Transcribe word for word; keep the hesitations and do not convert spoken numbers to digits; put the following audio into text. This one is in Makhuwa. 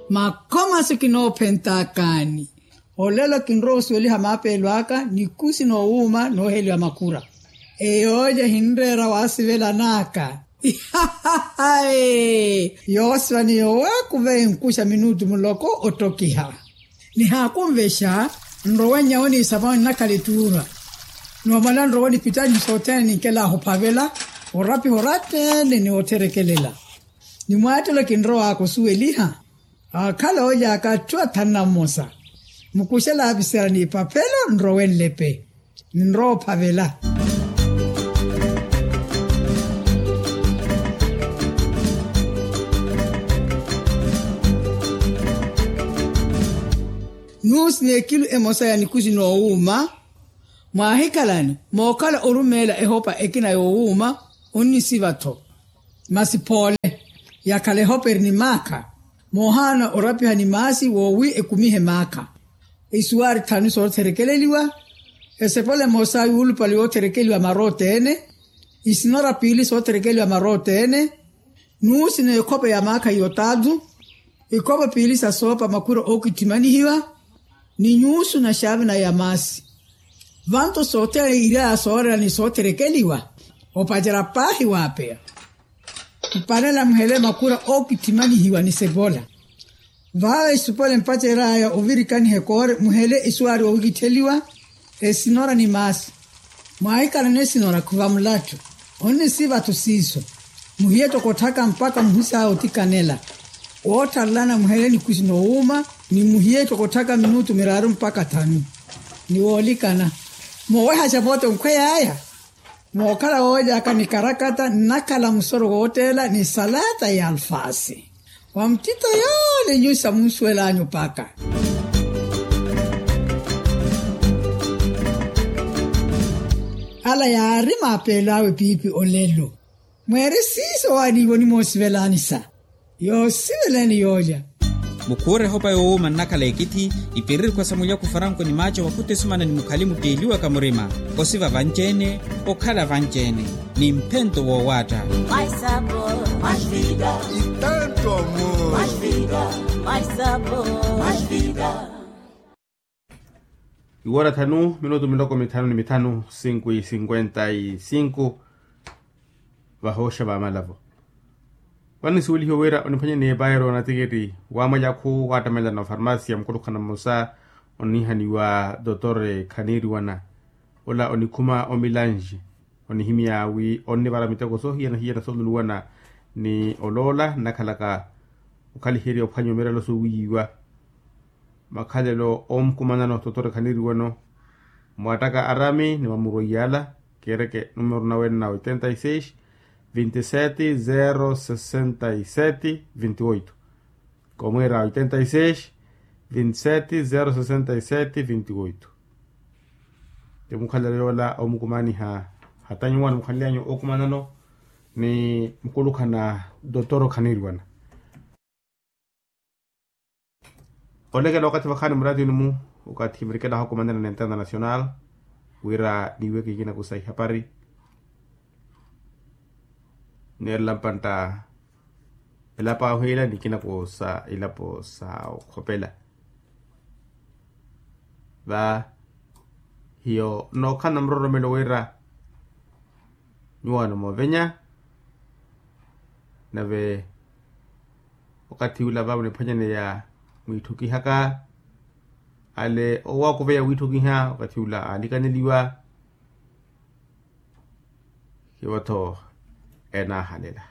Makhomaso kinoophentaakani. Olelo kinrowa osuweliha maapeelo aka nikusi noowuuma nooheliwa makura. Eyooja ehinreera waasivelan'aka. Ihahahae. Yoosiva ni yoowakuva enkuxa minutu muloko ottokiha. Nihaakunvexa nrowe nyawo niisapwani nnakhala ettuura. Noomala nrowe nipittanyu sothene ninkelaaha ophavela orapiha orateene ni otherekelela. Ni mwaattelo kinrow'aka osuweliha aakhala oolyaaka atthu athanu na mmosa. Mukuxela apisera n'ipaphelo nrowe nlepe. Ninrowa ophavela. Nuusi n'ekilu emosa ya nikusi noowuuma. Mwaahikhalani mookhala orumeela ehopa ekina yoowuuma. Onnisiva-tho masi phoole yakhala ehopa eri ni maakha. Moohaana orapiha ni maasi woowi ekumihe maakha. Isuwaari thanu sootherekeleliwa. Esepole emosa yuulupale yootherekeliwa maroota-ene. Isinora piili sootherekeliwa maroota-ene. Nuusi n'ekhope ya maakha y'otaatu. Ikhope piili sa soopa makhura ookitthimanihiwa. Ni nyuusu na xaavina ya maasi. Vanto sothene iryaya sooreera ni sootherekeliwa. Opacerya paahi waapeya. Mpanela muhele makhura ookitthimanihiwa ni sepola. Vaawe isupwele mpacery'aya ovirikaniha ekoore muhele isuwaari oowikittheliwa. Esinora ni maasi. Mwaahikalana esinora khuva mulattu. Onnisiva-tho siiso. Muhiye toko otthaka mpakha muhisaya otikanela. Woottharelana muhele nikusi noowuuma. Ni muhiye toko otthaka minutu miraaru mpakha thanu. Ni woolikana moowehaxa vote onkhwey'aya. Mookhala wooly'aka ni karakata nnakhala musoro wootteela ni salata y'alfaasi. Wa muttittho yoole nyusi samunsuwel'anyu paka. Ala yaari maapeelo awe piipi olelo. Mweeri siiso waaniivo onimoosivelaani sa. Yoosiveleeni yoolya. Mukhuure ehopa yoowuuma nnakhala ekitthi. Ipiririkhwa sa mulyaku faranko ni maaco wakhuta esumana ni mukhali mutteeliwaka murima. Osiva vanci-ene. Okhala vanci-ene. Ni mphento woowaatta. Itanto amor. Iwoora thanu minutu miloko mithanu ni mithanu sinku i sinkwenta i sinku. Vahooxa vamalavo. Vano nisuwelihiwe wira oniphwanyaniye paero na tiketi wa mwalyaku waattamela na ofarmasiya mukulukhana mmosa onihaniwa dotor khaniriwana. Ola onikhuma omilanji onihimya wi onnivara miteko soohiyana-hiyana sooluluwana ni oloola nnakhalaka okhaliherya ophwanya omirelo soowiyiwa. Makhalelo omukumanano totore khaniriwano. Mwattaka arami ni mamurwa iyala. Keereke numero nawe na oitenta y seis vinte y sete zero sesenta y sete vinte y oito. Komweera oitenta y seis vinte y sete zero sesenta y sete vinte y oito. Ti mukhalelo yoola omukumaniha hata nyuwani mukhalelyanyu okumanano ni mukulukhana dotor khaniriwana. Olekela okathi vakhaani muraatini mu okathi murikelaho okumantana na international wira niiweke ikina kusa ihapari. Neerela mpantta elapo ahoyela nikina kusa ilapo sa okhopela. Va hiyo nookhala na muroromelo wira nyuwaano moovenya. Nave okathi ula vavo niphwanyaneya mwiitthukihaka ale owakuveya wiitthukiha okathi ula aalikaneliwa. Hivo-tho enaahalela.